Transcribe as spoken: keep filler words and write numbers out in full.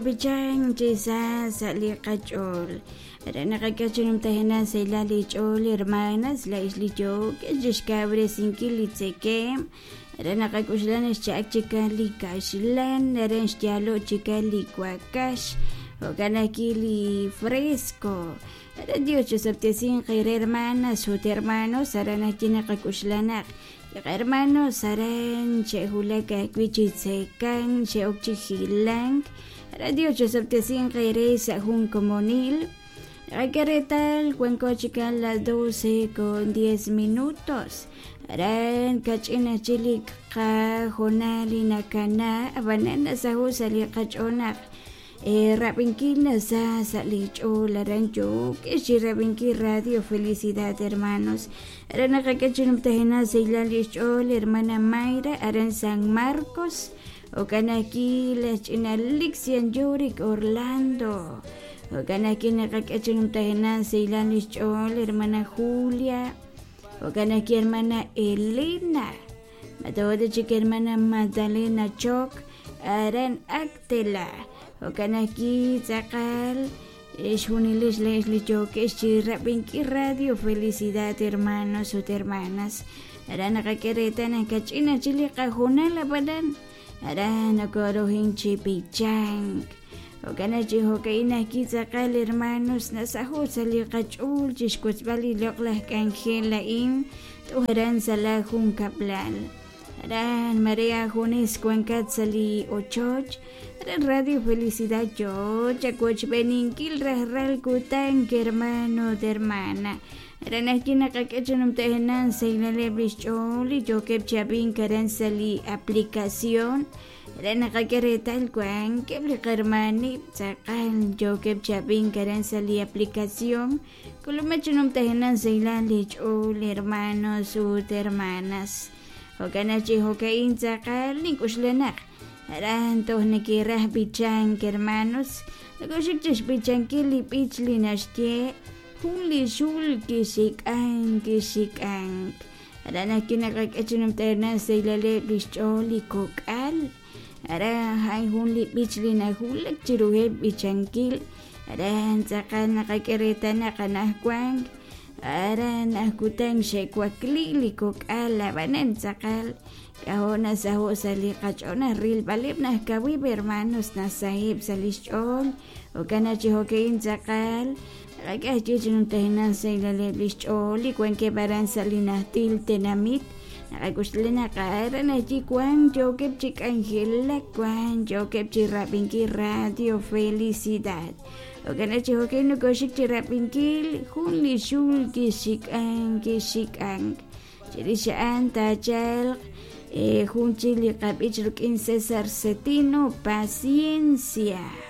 B'ichank chi sa sa' li qach'ool re naqak'e chi numtajenaq sahilal li ch'ool hermanas laa'ix li yookex chixkawresinkil li tzekemq re naqak'uxla xcha'ak chikan li kaxlan re xyaalo' chikan li wakax jo'kan ajwi' li fresco re Dios chisob'tesinq eere hermanas ut hermanos aran ajwi' naqak'uxla naq li hermanos aran xe'wulak ajwi' chi tzekank xe'ok chi hilank re Dios chisob'tesinq eere sa' jun komonil. Naqak'e reetal wanko chikan las doce con diez minutos aran kach'in ajwi' li qajoonal li nakana ab'anan nasaho' sa' li qach'ool naq rab'inkil nasa sa' li ch'ool aran yookex chi rab'inkil Radio Felicidad hermanos aran naqak'e chi numtajenaq sahilal li xch'ool hermana Mayra aran San Marcos jo'kan ajwi' laj ch'ina Lixian Yurik Orlando jo'kan ajwi' naqak'e chi numtajenaq sahilal li xch'ool hermana Julia jo'kan ajwi' hermana Elena matawata chik hermana Magdalena Choc aran Actela jo'kan ajwi' tz'aqal xjunilix le'x li yookex chi rab'inkil Radio Felicidad hermanos ut hermanas aran naqak'e reetal naq kach'in ajwi' li qajoonal ab'anan aran nokorohin chi b'ichank jo'kan chi jo'ka'in ajwi' tz'aqal hermanos nasaho' sa' li qach'ool chixwotzb'al li loq'laj k'anjel a'in toj aran sa' la junkab'lal aran Maria junes wankat sa' li ochoch aran Radio Felicidad yoo chawochb'eninkil rajlal kutan hermano ut hermana aran ajwi' naqak'e chi numtajenaq sahilaleb' li xch'ool li yookeb' chi ab'ink aran sa' li aplicación re naqak'e reetal wankeb' li qarmanib' tz'aqal yookeb' chi ab'ink aran sa' li aplicación k'ulumej chi numtajenaq sahilal li ch'ool hermanos ut hermanas jo'kan chi jo'ka'in tz'aqal nink'uxla naq aran toj neke'raj b'ichank hermanos nakoxik chixb'ichankil li b'ich li naxye jun li xul kixik'ank kixik'ank aran ajwi' naqak'e chi numtajenaq sahilaleb' li xch'ool li kok'al aran hay jun li b'ich li nawulak chiruheb' b'ichankil aran tz'aqal naqak'e reetal naq anajwan aran ajkutan xe'wakli li kok'al ab'anan tz'aqal k'ajo' nasaho' sa' li qach'ool naq rilb'aleb' naq kawib' hermanos nasaheb' sa' li xch'ool jo'kan chi jo'ka'in tz'aqal naqak'e ajwi' chi numtajenaq sahilaleb' li xch'ool li wankeb' aran sa' li najtil tenamit naqak'uxla naq aran ajwi' wan yookeb' chi k'anjelak wan yookeb' chi rab'inkil Radio Felicidad jo'kan chi jo'ka'in nokoxik chi rab'inkil jun li xul kixik'ank kixik'ank chirix a'an taachalq jun chik li qab'ich rik'in César Cetino Paciencia.